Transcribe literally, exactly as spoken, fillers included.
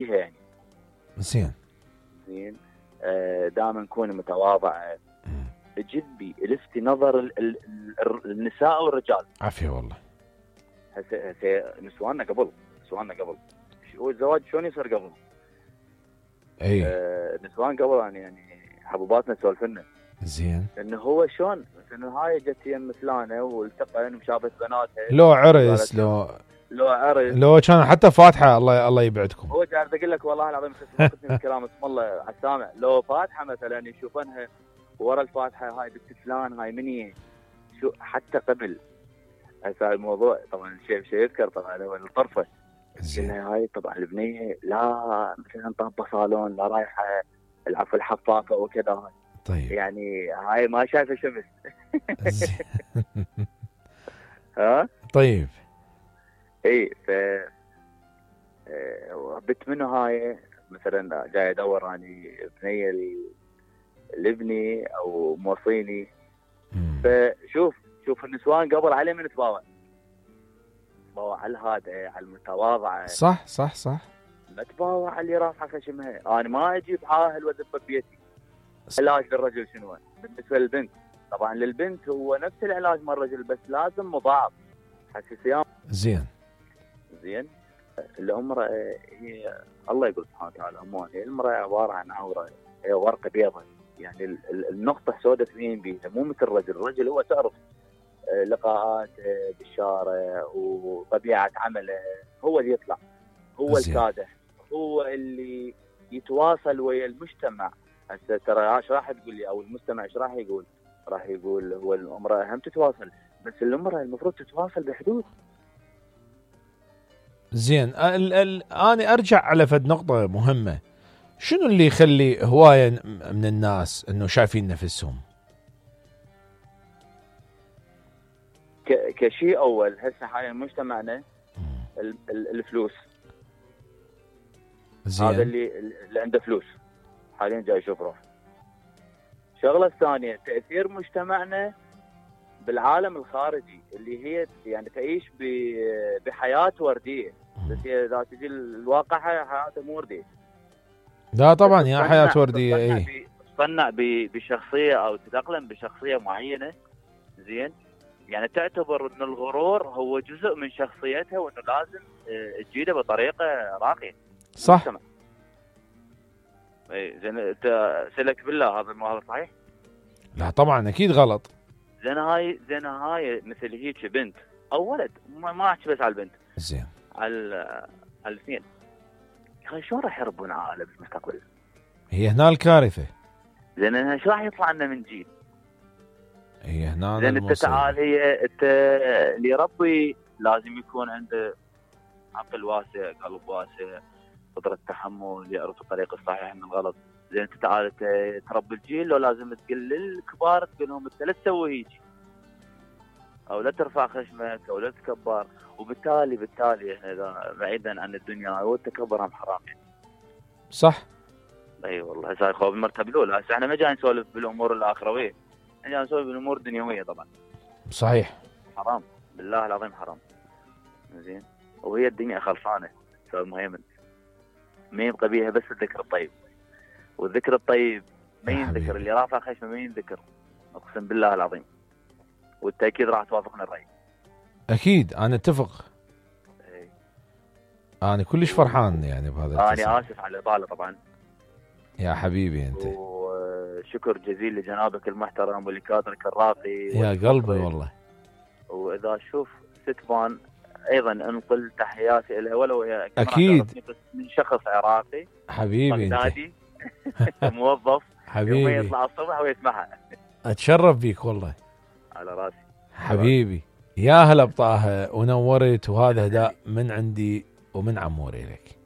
يعني. زين زين. آه دائما كوني متواضعه، جدي لفتي نظر ال ال ال النساء والرجال. عافيه والله. هسه هسه نسواننا قبل نسواننا قبل هو الزواج شلون يصير قبل؟ اي آه نسوان قبل يعني يعني حبوباتنا تسولفنا. زين. انه هو شلون مثلا هاي جت يم فلانه والتقن وشافت بناتها، لو عرس لو لو عرس لو كان حتى فاتحه، الله الله يبعدكم. هو قاعد اقول لك والله العظيم ما كنت الكلام اسم الله على السامع. لو فاتحه مثلا يشوفونها ورا الفاتحه هاي بنت فلان هاي مني شو حتى قبل. هسه الموضوع طبعا شيء شيء يذكر طبعا هو الطرفه. قلنا هاي طبعا البنيه لا مثلا طابه صالون لا رايحه العفو الحفاظه وكذا هاي. طيب يعني هاي ما شايفه شمس. ها طيب اي ف بت منه هاي مثلا جاي ادور يعني بنيه لابني او موصيني. فشوف شوف النسوان قبل عليه من تباوع تباوع على الهادئه على المتواضعه. صح صح صح. ما تباوع على اللي رافعه خشمها. انا ما اجيب عاهل واذبه بيتي. علاج للرجل شنو؟ بالنسبه للبنت طبعا للبنت هو نفس العلاج مال الرجل بس لازم مضاعف حساسيه. زين زين. الامراه هي الله يقول سبحانه وتعالى اموال. المراه عباره عن عوره، هي ورقه بيضاء يعني النقطه السوداء تبين بيها مو مثل الرجل. الرجل هو تعرف لقاءات بالشارع وطبيعه عمله هو اللي يطلع هو الكادح هو اللي يتواصل ويا المجتمع. هسه ترى ايش راح تقول لي او المستمع ايش راح يقول؟ راح يقول هو المراه هم تتواصل بس المراه المفروض تتواصل بحدود. زين. ال ال انا ارجع على فد نقطه مهمه. شنو اللي يخلي هوايه من الناس انه شايفين نفسهم؟ كشيء اول هسه حاليا مجتمعنا الفلوس. زين. هذا اللي اللي عنده فلوس حاليا جاي يشوف روح. الشغله الثانيه تاثير مجتمعنا بالعالم الخارجي اللي هي يعني تعيش بحياه ورديه بس هي اذا تجي الواقع حياتها مو ورديه. لا طبعا يا حياه ورديه. اي تصنع بشخصيه او تتاقلم بشخصيه معينه. زين. يعني تعتبر ان الغرور هو جزء من شخصيتها وانه لازم تجيده بطريقه راقيه. صح. اي زين. انت سلك بالله هذا ما هذا صحيح؟ لا طبعا اكيد غلط. زين هاي زين هاي مثل هيك بنت او ولد ما احكي بس على البنت. زين. على على الاثنين. يا اخي شلون راح يربون عائله بالمستقبل؟ هي هنا الكارثه. زين ايش راح يطلع لنا من جيل؟ هي هنا. زين انت تعال هي انت اللي يربي لازم يكون عنده عقل واسع قلب واسع قدره تحمل يعرف الطريق الصحيح من الغلط. زين انت تعال تربي الجيل لو لازم تقول للكبار تقول لهم انت لا تسوي هيك او لا ترفع خشمك او لا تتكبر. وبالتالي بالتالي احنا اذا بعيدا عن الدنيا والتكبر هم حرام يعني. صح. اي أيوة والله. هسه خوف المرتبه الاولى. هسه احنا ما جاي نسولف بالامور الاخرويه احنا جاي نسولف بالامور الدنيويه طبعا. صحيح. حرام بالله العظيم حرام. زين. وهي الدنيا خلصانه استاذ مهيمن ما يبقى بيها بس الذكر الطيب. والذكر الطيب ما ينذكر اللي رافع خشمه ما ينذكر اقسم بالله العظيم. وانت اكيد راح توافقنا الراي. اكيد انا اتفق. اي. انا كلش فرحان يعني بهذا التصريح. انا اسف على الاطاله طبعا. يا حبيبي انت. وشكر جزيل لجنابك المحترم ولكادرك الراقي. يا قلبي والله. واذا اشوف ستبان ايضا انقل تحياتي لها ولو هي اكيد من شخص عراقي حبيبي انت. موظف حبيبي يوم يطلع الصبح ويسمعها. اتشرف بيك والله. على راسي حبيبي. يا هلا بطه ونورت. وهذا هداء من عندي ومن عموري لك.